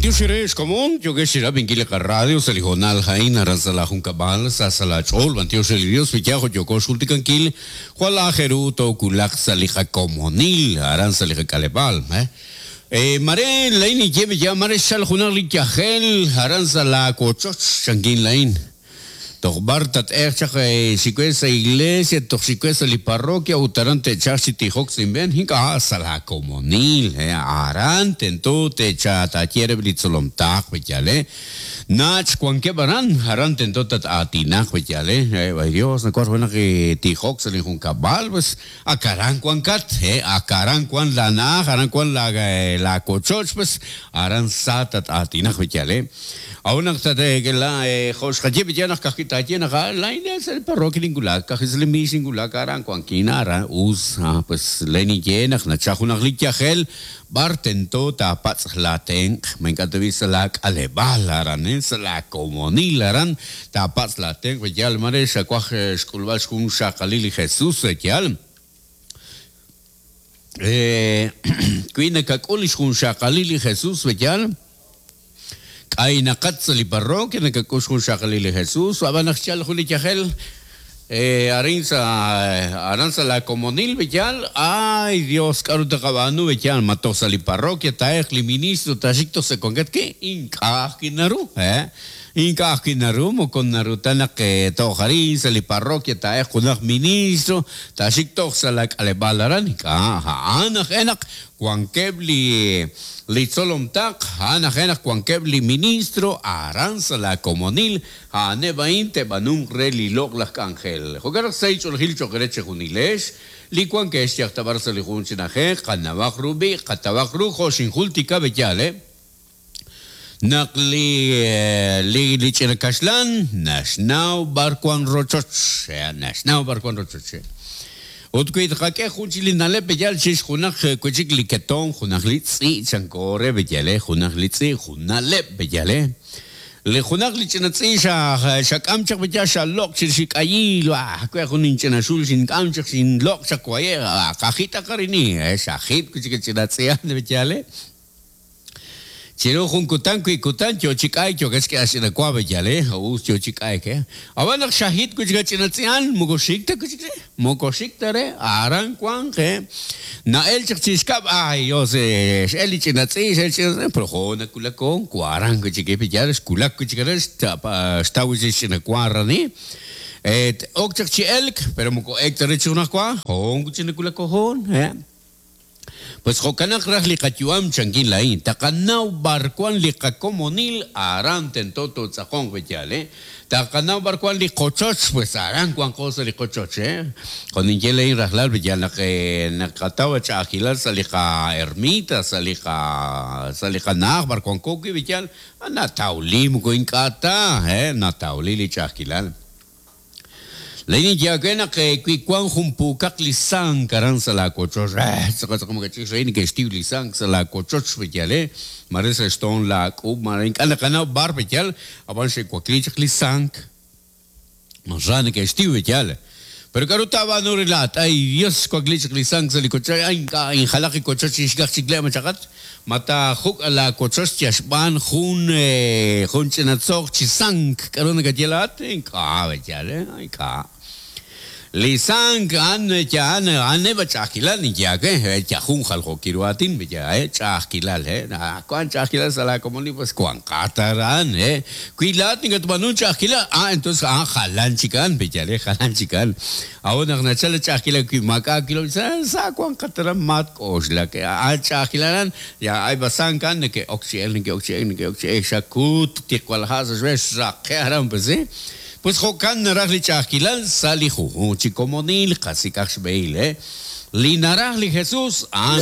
B'antiox eere ex komon, yookex chirab'inkil li qaradio sa' li hoonal a'in aran sa' laa junkab'al, sa sa' laa ch'ool. B'antiox re li Dios wi yaal jo' yooko xjultikankil, jwal aajel ru toowulaq sa' li qakomonil aran sa' li qak'aleb'aal. Mare laa'in ninye wi yaal mare xchal junaq li yajel aran sa' laa wochoch, chankin laa'in. Toj b'ar tat'eeq chaq xik we sa' iglesia, toj xik we sa' li parroquia ut aran te'chalq chi tijok sa' inb'een? Ink'a', sa' laa komonil, aran tento te'cha taaye reheb' li tzolom taaq b'eyal, Nach' wankeb' aran, aran tento tat-aatinaq b'eyal, Ay Dios, nawaj junaq tijok sa' lin junkab'al, pues ak aran wankat, ak aran wan laa na'aj, aran wan laa wochoch, pues aran sa tat-aatinaq b'eyal, A'ut naq tateekela jo' xqaye b'iyal naq ka'ajwi' taaye naq laa'in sa' li parroquia ninwulak, ka'ajwi' sa' li miix ninwulak, aran wankin, aran us, pues le ninye naq nachal junaq li yajel b'ar tento taapatz' laatenq', ma ink'a' tab'i' sa' laak'aleb'aal aran, sa' laakomonil aran taapatz' laatenq' b'iyal mare xawaj xk'ulb'al xjun xxaqalil li Jesús, yaal. Wi nakak'ul li xjunxaqalil li Jesús, b'iyal. K'aynaqat sa' li parroquia nakak'ul xjunxaqalil li Jesús, ab'an naq xchalk jun li yajel arin sa' aran sa' laakomonil b'eyal, ay Dios k'aru tqab'aanu b'eyal, ma toj sa' li parroquia taa'elq li ministro taaxik toj sa' wankat wi'? Ink'a' ajwi' naru, ink'a' ajwi' naru, moko naru ta naq toj arin sa' li parroquia taa'elq junaq ministro taaxik toj sa' laak'aleb'aal aran, ink'a', a'an aj e naq Wankeb' li li tzolom taql, a'an aj e naq wankeb' li ministro aran sa' laa komonil, a'aneb' a'in te'b'anunq re li loq'laj k'anjel. Jo'kan naq sahil ch'oolejil cho'q eere chejunilex, li wankex yaj ta b'ar sa' li jun chi na'ajej, qanawaq ru b'i', qatawaq ru jo' xinjultika b'eyal, naq li li li ch'ina kaxlan naxnaw b'ar wan rochoch, naxnaw b'ar wan rochoch. Ut wi tqak'e jun chik li na'leb' b'eyal chirix junaq wi' chik li ketomq, junaq li tz'i' chanko re b'eyal, junaq li tz'i', jun na'leb' b'eyal. Li junaq li ch'ina tz'i' xa xak'am chaq b'eyal xaloq' chirix li k'ayil, we jun inch'ina xul xink'am chaq xinloq' chaq waye', qajitaq arini, xajit wi' chik li ch'ina tz'i' b'eyal. Chiru jun kutan wi' kutan yo chi k'ayk yookeb' xk'eeb'al xch'ina wa b'eyal eh, us yo chi k'ayk eh. Ab'an naq xajit wi' chik a ch'ina tz'i'an moko xik ta wi' chik re, moko xik ta re, aran wanq eh. Na'el chaq chi xkab' ay Dios eh, x'el li ch'ina tz'i', x'el li ch'ina tz'i', pero jo nawulak hoon waran wi' chik eh b'eyal xwulak wi' chik aran xtaw wi' chik xch'ina wa aran eh. Ok chaq chi elk pero moko ek ta re chi junajwa, hoon wi' chik nawulak hoon eh. Pues jo'kanaq raj li qayu'am, chankin laa'in, taqanaw b'ar wan li qakomonil, aran tento tootz'aqonq wi' yaal, eh. Taqanaw b'ar wan li qochoch, pues aran wanqo sa' li qochoch, eh. Jo' ninye laa'in rajlal wi' yaal naq naqataw ch'a'ajkilal sa' li qa'ermita, sa' li qa, sa' li qana'aj b'ar wanko wi' wi' yaal, natawli moko ink'a' ta, eh, natawli li ch'a'ajkilal. Laa'in ninye aawe naq wi wank jun puukaq li sank aran sa' laawochoch, tz'aqal tz'aqal makach'in xrahil neke'xtiw li sank sa' laawochoch, b'eyal, maare sa' xtoon laak'ub', maare ink'a' naqanaw b'ar b'eyal, ab'an xe'wakliik chaq li sank, ra neke'xtiw b'eyal. Pero k'aru taab'aanu re laa'at? Ay, Dios, xwakliik chaq li sank sa' li wochoch, ay, ink'a' injalaq li wochoch chixk'atq chik le' ma chaqat. Ma taajuk' laawochoch yal xb'aan jun jun ch'ina tzoq chi sank? K'aru nakaye laa'at? Ink'a', b'eyal, ink'a'. Li sank a'an a'an a'aneb' a ch'a'ajkilal ninye aawe, yal jun jaljookil ru aatin, b'eyal, ch'a'ajkilal, wank ch'a'ajkilal sa' laakomonil, pues wanqat aran, wi laa'at nakatb'aanunk ch'a'ajkilal, ah, entonces a'an jalan chik a'an, b'eyal, jalan chik a'an. A'ut naq nachalk li ch'a'ajkilal wi maak'a' aakilom, sa wanqat aran matk'oxlak. A'an ch'a'ajkilal a'an, ya ay basank a'an neke'ok chi elk, neke'ok chi elk, neke'ok chi elk, xakut tiqwal ha' sa' xb'een xraqe' aran pues sí. Pues jo'kan naraj li ch'a'ajkilal sa' li junjunq chi komonil, qasik'aq xb'ehil, eh. Li naraj li Jesús a'an.